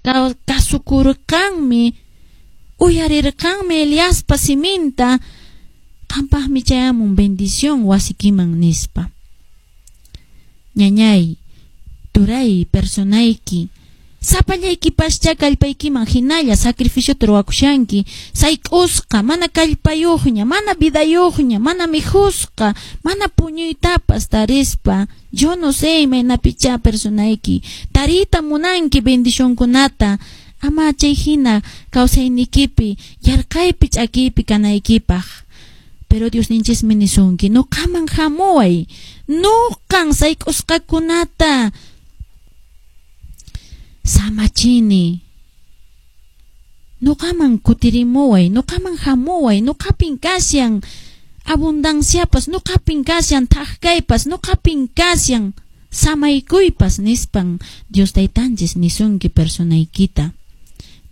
Kasukurqanmi, uyarirqanmi Eliaspa siminta, qampaqmi chayamun bendición wasikiman nispa. Ñañay, turay, personayki, sapallaykipascha kallpaykiman hinalla sacrificiota ruwakushanki, sayk'usqa, mana kallpayuqña, mana vidayuqña, mana mikhusqa, mana puñuytapas tarispa. Yo no sé imaynapichá personayki tariyta munanki bendicionkunata, ama chay hina kawsaynikipi, yarqaypi, ch'akiypi kanaykipaq. Pero Diosninchismi nisunki, nuqaman hamuway, nuqan sayk'usqakunata samachini, nuqaman kutirimuway, nuqaman hamuway, nuqapin kashan abundanciapas, nuqapin kashan thak-kaypas, nuqapin kashan samaykuypas nispan Dios taytanchis nisunki personaykita.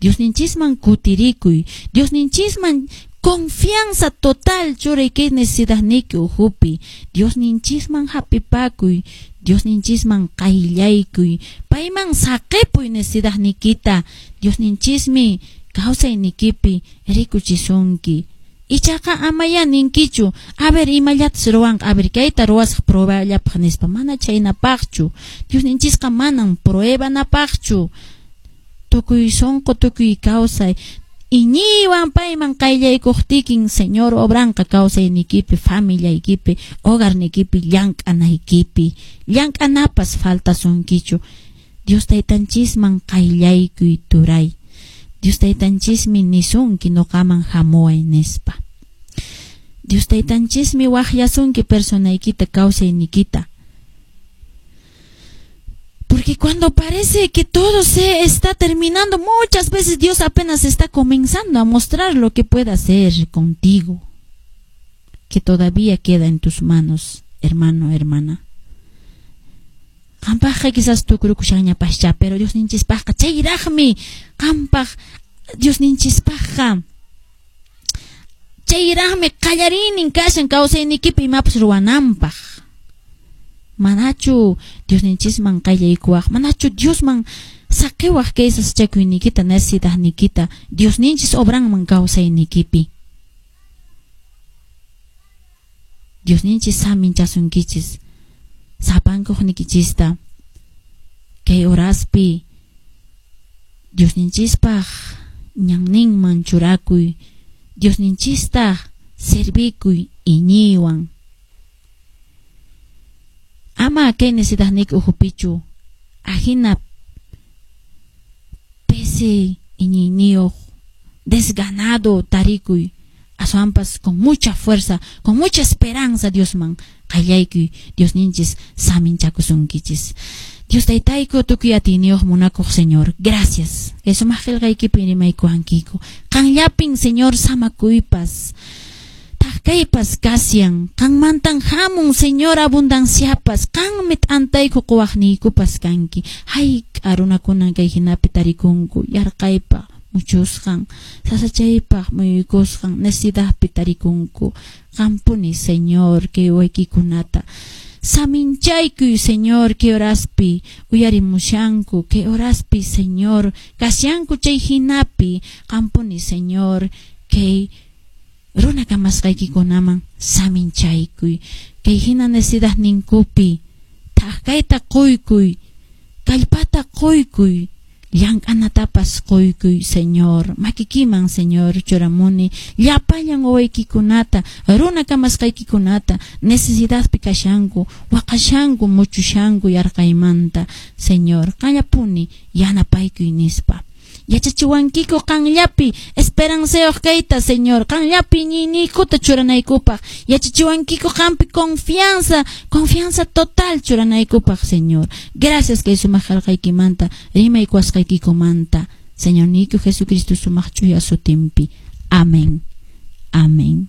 Diosninchisman kutirikuy, Diosninchisman confianza total churay kay necesidadniyki ukhupi, Diosninchisman hapipakuy, Diosninchisman qayllaykuy, payman saqipuy necesidadniykita, Diosninchismi kawsaynikipi rikuchisunki. Ichaqa amaya ninkichu, a ver imallatas ruwanqa, a ver kayta ruwasaq prueballapaq nispa, mana chaynapaqchu. Diosninchisqa manan pruebanapaqchu. Tukuy sunqu, tukuy kawsay, iñiywan payman qayllaykuqtikin, Señor obranqa kawsaynikipi, familiaykipi, hogarnikipi, llank'anaykipi. Llank'anapas faltasunkichu. Dios taytanchisman qayllaykuy turay. Dios taytanchismi nisunki nuqaman hamuway nispa. Dios taytanchismi waqyasunki personaykita, kawsaynikita. Porque cuando parece que todo se está terminando, muchas veces Dios apenas está comenzando a mostrar lo que puede hacer contigo, que todavía queda en tus manos, hermano, hermana. Qampaqqa quizás tukurukushanñapascha, pero Diosninchispaqqa chayraqmi qampaq Diosninchispaqqa chayraqmi qallariynin kashan kawsaynikipi imapas ruwananpaq. Manachu Diosninchisman qayllaykuwaq, manachu Diosman saqiwaq kay sasachakuyniykita, necesidadniykita, Diosninchis obranman kawsaynikipi. Diosninchis saminchasunkichis sapankuqnikichista kay horaspi Diosninchispaq ñanninman churakuy, Diosninchista servikuy iñiywan. Ama kay necesidadniyki ukhupichu ajina pisi iñiyniyuq desganado tarikuy, aswanpas con mucha fuerza, con mucha esperanza Diosman qallaykuy, Diosninchis saminchakusunkichis. Dios taytayku tukuy atiyniyuq munakuq Señor, gracias. Kay sumaq qillqaykipi rimaykuwankiku. Qanllapin Señor samakuypas, thak-kaypas kasyan, qanmantan hamun Señor abundanciapas, qanmi t'antayku quwaqniykupas kanki. Hayk'a runakunan kay hinapi tarikunku, yarqaypaq muchusqan, sasachaypaq muyuykusqan, necesidadpi tarikunku. Qampuni Señor kay waykikunata saminchaykuy Señor, kay horaspi uyarimushanku, kay horaspi Señor kashanku chay hinapi, qampuni Señor kay runa kamasqaykikunaman saminchaykuy, kay hina necesidadninkupi thak-kayta quykuy, kallpata quykuy, llank'anatapas quykuy Señor, makikiman Señor churamuni llapallan wawaykikunata, runa kamasqaykikunata, necesidadpi kashanku, waqashanku, muchushanku yarqaymanta, Señor, qanllapuni yanapaykuy nispa. Yachachiwankiku qanllapi esperancayuq kayta, Señor, qanllapi iñiyniykuta churanaykupaq. Yachachiwankiku qampi confianza, confianza total churanaykupaq, Señor. Gracias kay sumaq qillqaykimanta, rimaykuwasqaykikumanta. Señor niyku Jesucristo sumaq ch'uya sutinpi. Amén. Amén.